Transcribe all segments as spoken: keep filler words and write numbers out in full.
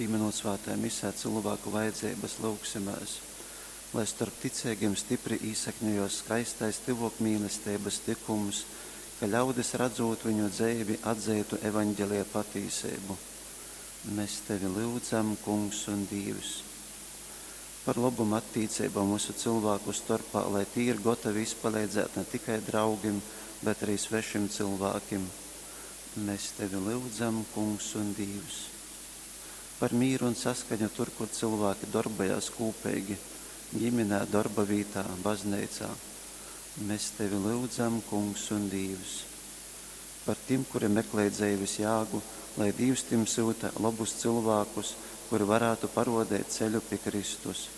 Pīminūt svātajā misē cilvēku vajadzības, lūgsimēs, lai storp ticeigiem stipri īsakņojos skaistais tyvōkmīlesteibas tykums, ka ļaudis, radzūt viņu dzeivi, atzeitu evaņgelija patīseibu. Mēs tevi lyudzam, Kungs un Dīvs. Par lobom attīceibom vysu cylvāku storpā, lai tī ir gotovi izpaleidzēt ne tikai draugim, bet arī svešim cylvākim. Mēs tevi lyudzam, Kungs un Dīvs. Par mīru un saskaņu tur, kur cilvēki darbojās kūpeigi, ģimenē, darba vītā, bazneicā. Mēs tevi lyudzam, Kungs un Dīvs. Par tim, kuri meklej dzeives jāgu, lai Dīvs tim syuta lobus cilvēkus, kuri varētu parodēt ceļu pie Kristus.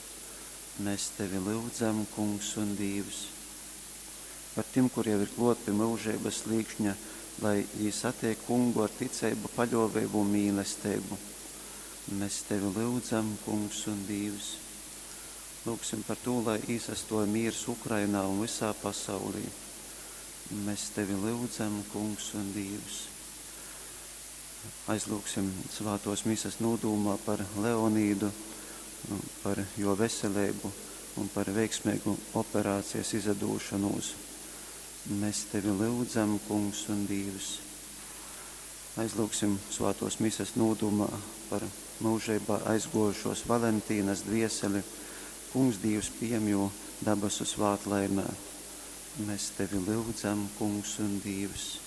Mēs tevi lyudzam, Kungs un Dīvs. Par tim, kuri jau ir klot pie mūžības slīkšņa, lai jī satiek kungu ar ticeibu, paļovību un mīlestību. Mēs tevi lyudzam, Kungs un Dīvs. Lūgsim par to, lai īsastoja mīrs Ukrainā un visā pasaulī. Mēs tevi lyudzam, Kungs un Dīvs. Aizlūgsim svātos misas nūdūmā par Leonīdu, par jo veselību un par veiksmīgu operācijas izadūšanos. Mēs tevi lyudzam, Kungs un Dīvs. Aizlūgsim svātos misas nūdūmā par mūžībā aizgojušos Valentīnas dvieseli. Kungs Dīvs pieņem jū dabasu svātlaimē. Mēs tevi lyudzam, Kungs un Dīvs.